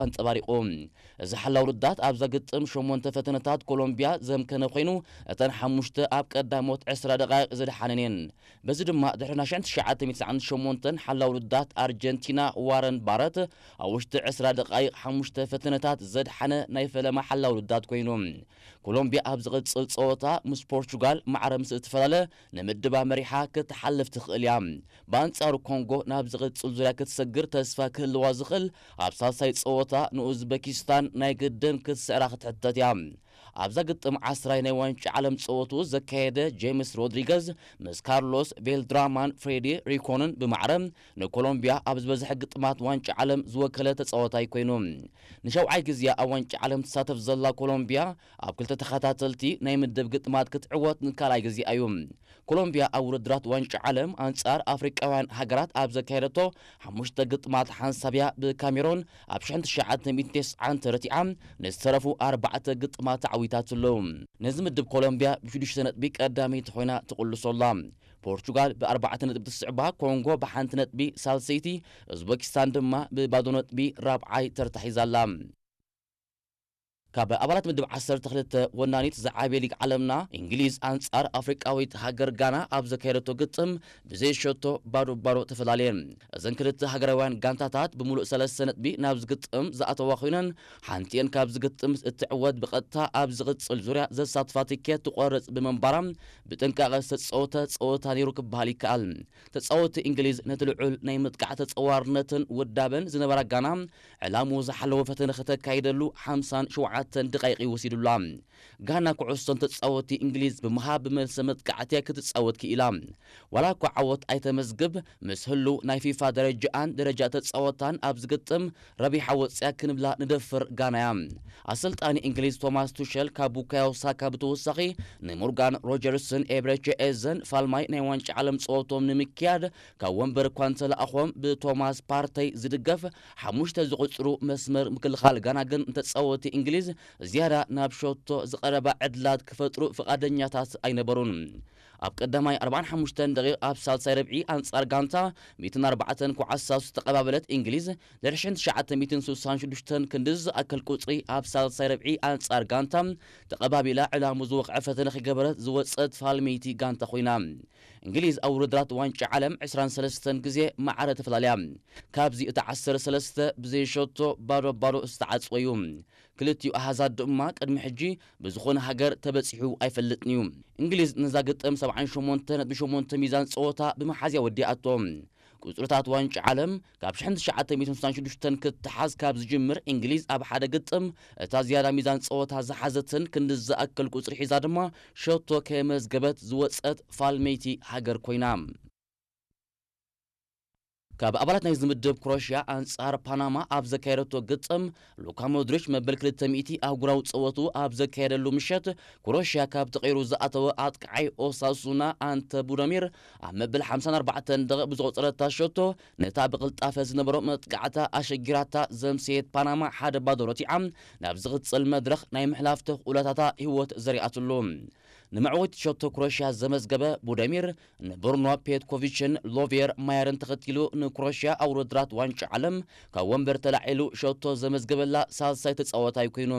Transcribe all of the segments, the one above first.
ኣንጸባሪቑ። እዚ ሓላው ውድድራት ኣብዛ ግጥም ሸሞንተ ፈተነታት ኮሎምቢያ ዘምከነ ኮይኑ፣ እተን ሓሙሽተ ኣብ ቀዳሞት ዕስራ ደቓይቕ ዝደሓነን እየን። በዚ ድማ ድሕሪ ናይ ሽሕን ትሽዓተ ሚእትን ትስዓን ሸሞንተን ሓላው ውድድራት ኣርጀንቲና ዋረን ባረት ኣብ ውሽጢ ዕስራ ደቓይቕ ሓሙሽተ ፈተነታት ዘድሓነ ናይ ፈለማ ሓላው ውድድራት ኮይኑ። ኮሎምቢያ ኣብ ዝቕጽል ጸወታ ምስ ፖርቹጋል ማዕረ ምስ እትፈላለ ንምድባ መሪሓ ክትሓልፍ ትኽእል እያ። ብኣንጻሩ ኮንጎ ናብ ዝቕጽል ዙርያ ክትሰግር ተስፋ ክህልዋ ዝኽእል ኣብ ሳልሳይ ጸወታ ንኡዝበኪስታን ናይ ግድን ክትስዕራ ክትሕተት እያ። ኣብዛ ግጥም ዓስራይ ናይ ዋንጫ ዓለም ጸወቱ ዘካየደ ጄምስ ሮድሪገዝ ምስ ካርሎስ ቤልድራማን ፍሬዲ ሪኮንን ብማዕረ ንኮሎምቢያ ኣብ ዝበዝሐ ግጥማት ዋንጫ ዓለም ዝወከለ ተጻዋታይ ኮይኑ። ንሸውዓይ ግዜ ኣብ ዋንጫ ዓለም ትሳተፍ ዘላ ኮሎምቢያ ኣብ ክልተ ተኸታተልቲ ናይ ምድብ ግጥማት ክትዕወት ንካልኣይ ግዜ እዩ። ኮሎምቢያ ኣብ ውድድራት ዋንጫ ዓለም ኣንጻር ኣፍሪቃውያን ሃገራት ኣብ ዘካየደቶ ሓሙሽተ ግጥማት ሓንሳብ እያ ብካሜሮን ኣብ ሽሕን ትሽዓተ ሚእትን ተስዓን ተረቲዓ ንዝተረፉ ኣርባዕተ ግጥማት ተዓዊታትሉ። ነዚ ምድብ ኮሎምቢያ ብሽዱሽተ ነጥቢ ቀዳመይቲ ኮይና ትቕልሶ ኣላ። ፖርቹጋል ብኣርባዕተ ነጥቢ ትስዕባ፣ ኮንጎ ብሓንቲ ነጥቢ ሳልሰይቲ፣ ኡዝበኪስታን ድማ ብባዶ ነጥቢ ራብዓይ ተርታ ሒዛ ኣላ። ካብ ኣባላት ምድብ ዓሰርተ ክልተ ወናኒት ዝዓበየ ሊግ ዓለምና እንግሊዝ ኣንጻር ኣፍሪቃዊት ሃገር ጋና ኣብ ዘካየደቶ ግጥም ብዘይ ሸቶ ባዶ ባዶ ተፈላለየን። እዘን ክልተ ሃገራውያን ጋንታታት ብምሉእ ሰለስተ ነጥቢ ናብ ዝግጥም ዝኣተዋ ኮይነን፣ ሓንቲኤን ካብ ዝግጥም እትዕወት ብቐጥታ ኣብ ዝቕጽል ዙርያ ዘሳትፋ ትኬት ትቆርጽ ብምንባራ ብጥንቃቐ ዝተጻወተ ጸወታ ነይሩ ክበሃል ይከኣል። ተጻወትቲ እንግሊዝ ነቲ ልዑል ናይ ምጥቃዕ ተጸዋርነትን ውዳበን ዝነበራ ጋና ዕላምኡ ዝሓለወ ፈተነ ከተካይደሉ ሓምሳን ሸውዓተን ደቓይቕ ይወሲዱላ። ጋና ኩዕሶን ተጻወትቲ እንግሊዝ ብምሃብ ብመልሰ መጥቃዕቲ ክትጻወት ክኢላ። ዋላ እኳ ዓወት ኣይተመዝግብ፣ ምስ ህሉው ናይ ፊፋ ደረጃኣን ደረጃ ተጻወታን ኣብ ዝግጥም ረቢሓ ወጽያ ክንብላ ንደፍር ጋና እያ። ኣሰልጣኒ እንግሊዝ ቶማስ ቱሸል ካብ ቡካዮ ሳካ ብተወሳኺ ንሞርጋን ሮጀርስን ኤብረቸ ኤዘን ፋልማይ ናይ ዋንጫ ዓለም ጸወቶም ንምክያድ ካብ ወንበር እኳ እንተለኣኾም ብቶማስ ፓርተይ ዝድገፍ ሓሙሽተ ዝቑጽሩ መስመር ምክልኻል ጋና ግን ንተጻወትቲ እንግሊዝ ዝያዳ ናብ ሸቶ ዝቐረባ ዕድላት ክፈጥሩ ፍቓደኛታት ኣይነበሩን። ኣብ ቀዳማይ ኣርባዓን ሓሙሽተን ደቂቕ ኣብ ሳልሳይ ረብዒ ኣንጻር ጋንታ ሚእትን ኣርባዕተን ኩዓት ዝተቐባበለት እንግሊዝ ድሕሪ ሽሕን ትሽዓተ ሚእትን ስሳን ሽዱሽተን ክንዲ ዝኣክል ቁጽሪ ኣብ ሳልሳይ ረብዒ ኣንጻር ጋንታ ተቐባቢላ ዕላሙ ዝወቕዐ ፈተነ ክገበረት ዝወጸት ፋልመይቲ ጋንታ ኮይና። እንግሊዝ ኣብ ውድድራት ዋንጫ ዓለም ዕስራን ሰለስተን ግዜ ማዕረ ተፈላልያ። ካብዚ እቲ ዓሰርተ ሰለስተ ብዘይ ሸቶ ባዶ ባዶ ዝተዓጽወ እዩ። ክልቲኡ ኣሃዛት ድማ ቅድሚ ሕጂ ብዝኾነ ሃገር ተበጺሑ ኣይፈልጥን እዩ። እንግሊዝ ነዛ ግጥም ሰብዓን ሸሞንተ ነጥቢ ሸሞንተ ሚዛን ጸወታ ብምሓዝያ ወዲኣቶ። ቁጽርታት ዋንጫ ዓለም ካብ ሽሕን ትሽዓተ ሚእትን ስሳን ሽዱሽተን ክትሓዝ ካብ ዝጅምር እንግሊዝ ኣብ ሓደ ግጥም እታ ዝያዳ ሚዛን ጸወታ ዝሓዘትን ክንዲ ዝኣክል ቁጽሪ ሒዛ ድማ ሸቶ ከየመዝገበት ዝወጸት ፋልመይቲ ሃገር ኮይና። ካብ ኣባላት ናይዚ ምድብ ክሮሽያ ኣንጻር ፓናማ ኣብ ዘካየደቶ ግጥም ሉካ ሞድሪች መበል ክልተ ሚእቲ ኣህጉራዊ ጸወቱ ኣብ ዘካየደሉ ምሸት ክሮሽያ ካብ ተቐይሩ ዝኣተወ ኣጥቃዓይ ኦሳሱና ኣንተ ቡደሚር ኣብ መበል ሓምሳን ኣርባዕተን ደቂቕ ብዝቆጸረታ ሸቶ ነታ ብቕልጣፈ ዝነበሮ መጥቃዕታ ኣሸጊራታ ዘምሰየት ፓናማ ሓደ ባዶ ረቲዓ ናብ ዝቕጽል መድረኽ ናይ ምሕላፍ ተኽእሎታታ ህይወት ዘሪኣትሉ። ንመዕወቲ ሸቶ ክሮሽያ ዘመዝገበ ቡደሚር ንብሩኖ ፔትኮቪችን ሎቬር ማየርን ተኸቲሉ ንክሮሽያ ኣብ ውድድራት ዋንጫ ዓለም ካብ ወንበር ተላዒሉ ሸቶ ዘመዝገበላ ሳልሳይ ተጻዋታይ ኮይኑ።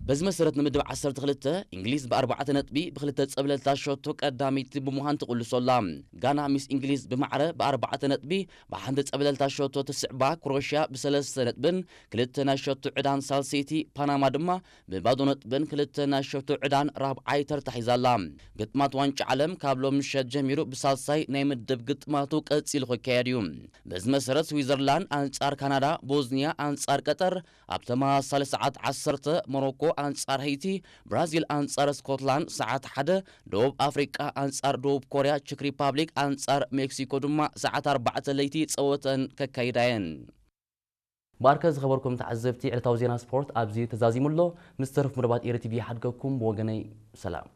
በዚ መሰረት ንምድብ ዓሰርተ ክልተ እንግሊዝ ብኣርባዕተ ነጥቢ ብክልተ ጸብለልታ ሸቶ ቀዳመይቲ ብምዃን ትቕልሶ ኣላ። ጋና ምስ እንግሊዝ ብማዕረ ብኣርባዕተ ነጥቢ ብሓንቲ ጸብለልታ ሸቶ ትስዕባ፣ ክሮሽያ ብሰለስተ ነጥብን ክልተ ናይ ሸቶ ዕዳን ሳልሰይቲ፣ ፓናማ ድማ ብባዶ ነጥብን ክልተ ናይ ሸቶ ዕዳን ራብዓይ ተርታ ሒዛ ኣላ። ግጥማት ዋንጫ ዓለም ካብ ሎም ምሸት ጀሚሩ ብሳልሳይ ናይ ምድብ ግጥማቱ ቀጺሉ ክካየድ እዩ። በዚ መሰረት ስዊዘርላንድ ኣንጻር ካናዳ፣ ቦዝኒያ ኣንጻር ቀጠር ኣብ ተመሳሳሊ ሰዓት ዓሰርተ፣ ሞሮኮ ኣንጻር ሀይቲ፣ ብራዚል ኣንጻር ስኮትላንድ ሰዓት ሓደ፣ ደቡብ ኣፍሪቃ ኣንጻር ደቡብ ኮርያ፣ ቼክ ሪፓብሊክ ኣንጻር ሜክሲኮ ድማ ሰዓት ኣርባዕተ ለይቲ ጸወተን ከካይዳ እየን። ባርከ ዝኸበርኩም ተዓዘብቲ፣ ዕለታዊ ዜና ስፖርት ኣብዚ ተዛዚሙ ኣሎ። ምስ ተረፍ መደባት ኤሪ ቲቪ ይሓድገኩም። ብወገነይ ሰላም።